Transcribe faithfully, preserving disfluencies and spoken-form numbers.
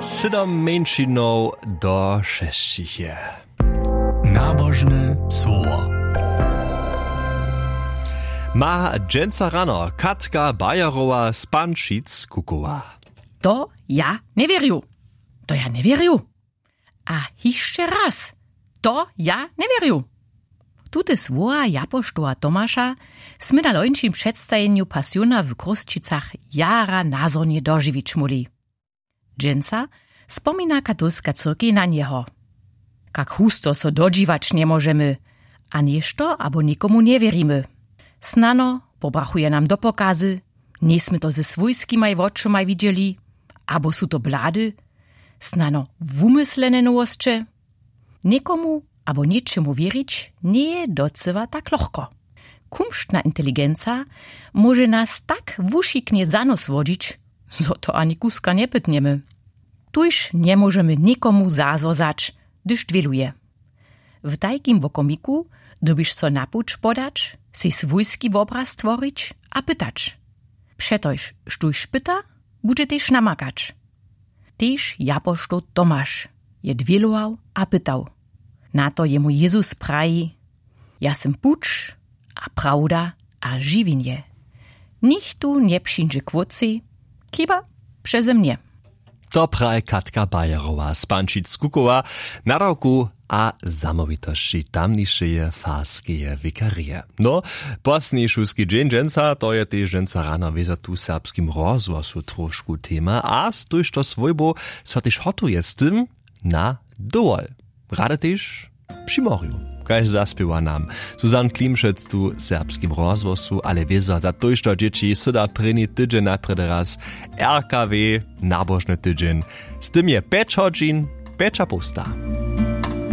Sydom mjeńšinow do šesćich je. Nabožne słowo. Ma dźensa rano Katka Bajerowa z Pančic kukowa. To ja njewěrju. To ja njewěrju. A hišće raz. To ja njewěrju. Tute słowa japoštoła Tomaša smy na lońšim předstajenju Pasiona w Chrósćicach jara nazhonje dožiwić móhli. Dźensa spomina katolska cyrkej na njeho. Kak husto so dodźiwać njemóžemy, a něšto abo někomu njewěrimy. Snano pobrachuje nam do pokazy, njejsmy to ze swójskimaj wočomaj widźeli, abo su to blady, snano wumyslene nowosće. Někomu abo něčemu wěrić njeje docyła tak lochko. Kumštna inteligenca móže nas tak wušiknje za nos wodźić, zo to ani kuska njepytnjemy. Tuž njemóžemy někomu zazwozać, hdyž dwěluje. W tajkim wokomiku dyrbiš so na puć podać, sej swójski wobraz tworić a pytać. Přetož štóž pyta, budźe tež namakać. Tež japoštoł Tomaš je dwělował a pytał. Na to jemu Jezus praji: Ja sym puć a prawda a žiwjenje. Nichtó njepřińdźe k wótcej, chiba přeze mnje. To praji Katka Bajerowa z Pančic kukowa, nadawku a zamołwitosći tamnišeje farskeje wikarije. No, posledni šulski dźeń dźensa, to je tež dźensa rano wězo tu w Serbskim rozhłosu trošku tema a z tójšto swójbow so tež hotuje z tym na dowol. Rady tež při morju, kaž zaspěwa nam Susanne Klimšec tu w Serbskim rozhłosu, ale wězo za tójšto dźěći syda prěni tydźeń najprjedy raz R K W, nabožny tydźeń. Z tym je pjeć hodźin pjeć a połsta.